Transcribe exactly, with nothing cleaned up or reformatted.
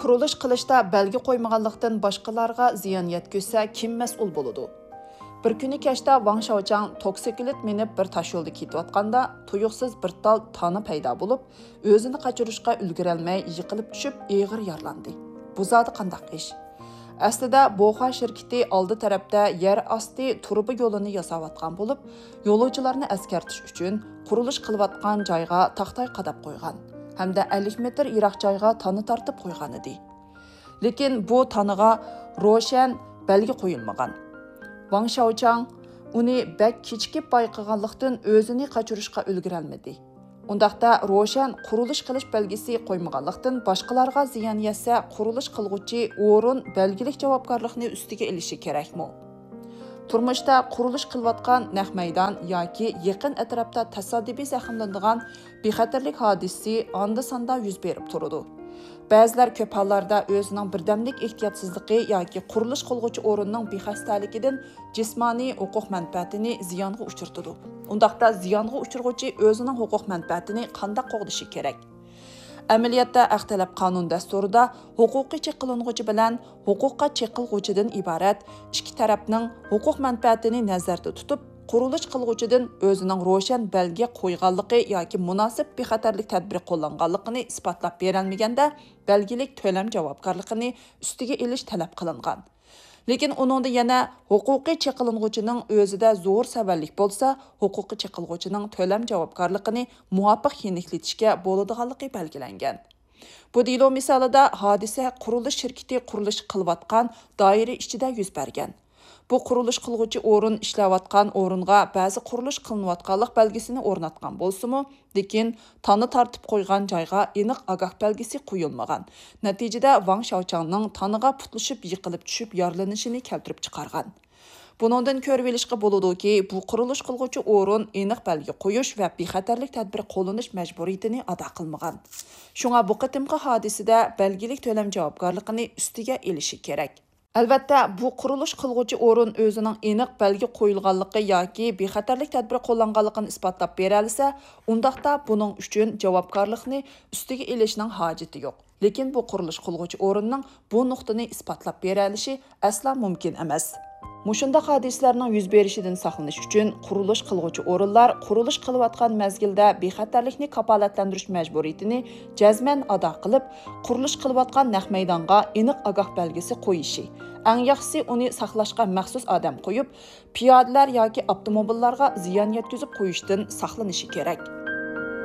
قۇرۇلۇش قىلىشتا بەلگە قويمىغانلىقتىن باشقىلارغا زىيان يەتكۈزسە، كىم مەسئۇل بولىدۇ؟ بىر كۈنى كەچتە ۋاڭ شياۋچاڭ توكسىكلىت مىنىپ بىر تاشيولدا كېتىۋاتقاندا، تۇيۇقسىز بىر تال تانا پەيدا بولۇپ، ئۆزىنى قاچۇرۇشقا ئۈلگۈرەلمەي يىقىلىپ چۈشۈپ، ئېغىر يارىلاندى. بۇ زادى قانداق ئىش؟ ئەسلىدە بوخۇا شىركىتى ئالدى تەرەپتە يەر ئاستى تۇرۇبا يولىنى ياساۋاتقان بولۇپ، يولۇچىلارنى ئەسكەرتىش ئۈچۈن قۇرۇلۇش قىلىۋاتقان جايغا تاختاي قاداپ قويغان ھەمدە ئەللىك مېتىر يىراق جايغا تانا تارتىپ قويغانىدى. لېكىن بۇ تانىغا روشەن بەلگە قويۇلمىغان. ۋاڭ شياۋچاڭ ئۇنى بەك كېچىكىپ بايقىغانلىقتىن، ئۆزىنى قاچۇرۇشقا ئۈلگۈرەلمىدى. ئۇنداقتا روشەن قۇرۇلۇش قىلىش بەلگىسى قويمىغانلىقتىن، باشقىلارغا زىيان يەتسە، قۇرۇلۇش قىلغۇچى ئورۇن بەلگىلىك جاۋابكارلىقنى ئۈستىگە ئېلىشى كېرەكمۇ؟ تۇرمۇشتا قۇرۇلۇش قىلىۋاتقان نەق مەيدان ياكى يېقىن ئەتراپتا تاسادىپىي زەخىملىنىدىغان بىخەتەرلىك ھادىسىسى ئاندا-ساندا يۈز بېرىپ تۇرىدۇ. بەزىلەر كۆپ ھاللاردا ئۆزىنىڭ بىردەملىك ئېھتىياتسىزلىقى ياكى قۇرۇلۇش قىلغۇچى ئورۇننىڭ بىخەستەلىكىدىن جىسمانىي ھوقۇق مەنپەئەتىنى زىيانغا ئۇچرىتىدۇ. ئۇنداقتا زىيانغا ئۇچرىغۇچى ئۆزىنىڭ ھوقۇق مەنپەئەتىنى قانداق قوغدىشى كېرەك؟ ئەمەلىيەتتە، ھەق تەلەپ قانۇن دەستۇرىدا ھوقۇقىي چېقىلغۇچى بىلەن ھوقۇققا چېقىلغۇچىدىن ئىبارەت ئىككى تەرەپنىڭ ھوقۇق مەنپەئەتىنى نەزەردە تۇتۇپ، قۇرۇلۇش قىلغۇچىدىن ئۆزىنىڭ روشەن بەلگە قويغانلىقى ياكى مۇناسىپ بىخەتەرلىك تەدبىرى قوللانغانلىقىنى ئىسپاتلاپ بېرەلمىگەندە، بەلگىلىك تۆلەم جاۋابكارلىقىنى ئۈستىگە ئېلىش تەلەپ قىلىنغان. لېكىن ئۇنىڭدا يەنە ھوقۇقىي چېقىلغۇچىنىڭ ئۆزىدە زور سەۋەنلىك بولسا، ھوقۇققا چېقىلغۇچىنىڭ تۆلەم جاۋابكارلىقىنى مۇۋاپىق يېنىكلىتىشكە بولىدىغانلىقى بەلگىلەنگەن. بۇ دېلو مىسالىدا ھادىسە قۇرۇلۇش شىركىتى قۇرۇلۇش قىلىۋاتقان دائىرە ئىچىدە يۈز بەرگەن. بۇ قۇرۇلۇش قىلغۇچى ئورۇن ئىشلەۋاتقان ئورۇنغا بەزى قۇرۇلۇش قىلىنىۋاتقانلىق بەلگىسىنى ئورناتقان بولسىمۇ، لېكىن تانا تارتىپ قويغان جايغا ئېنىق ئاگاھ بەلگىسى قويۇلمىغان. نەتىجىدە، ۋاڭ شياۋچاڭنىڭ تانىغا پۇتلىشىپ يىقىلىپ چۈشۈپ يارىلىنىشىنى كەلتۈرۈپ چىقارغان. بۇنىڭدىن كۆرۈۋېلىشقا بولىدۇكى، بۇ قۇرۇلۇش قىلغۇچى ئورۇن ئېنىق بەلگە قويۇش ۋە بىخەتەرلىك تەدبىرى قوللىنىش مەجبۇرىيىتىنى ئادا قىلمىغان. شۇڭا بۇ قېتىمقى ھادىسىدە بەلگىلىك تۆلەم جاۋابكارلىقىنى ئۈستىگە ئېلىشى كېرەك. ئەلۋەتتە، بۇ قۇرۇلۇش قىلغۇچى ئورۇن ئۆزىنىڭ ئېنىق بەلگە قويۇلغانلىقى ياكى بىخەتەرلىك تەدبىرى قوللانغانلىقىنى ئىسپاتلاپ بېرەلىسە، ئۇنداقتا بۇنىڭ ئۈچۈن جاۋابكارلىقنى ئۈستىگە ئېلىشنىڭ ھاجىتى يوق. لېكىن بۇ قۇرۇلۇش قىلغۇچى ئورۇننىڭ بۇ نۇقتىنى ئىسپاتلاپ بېرەلىشى ئەسلا مۇمكىن ئەمەس. مۇشۇنداق ھادىسىلەرنىڭ يۈز بېرىشىدىن ساقلىنىش ئۈچۈن، قۇرۇلۇش قىلغۇچى ئورۇنلار قۇرۇلۇش قىلىۋاتقان مەزگىلدە بىخەتەرلىكنى كاپالەتلەندۈرۈش مەجبۇرىيىتىنى جەزمەن ئادا قىلىپ، قۇرۇلۇش قىلىۋاتقان نەق مەيدانغا ئېنىق ئاگاھ بەلگىسى قويۇشى، ئەڭ ياخشىسى ئۇنى ساقلاشقا مەخسۇس ئادەم قويۇپ، پىيادىلەر ياكى ئاپتوموبىللارغا زىيان يەتكۈزۈپ قويۇشتىن ساقلىنىشى كېرەك.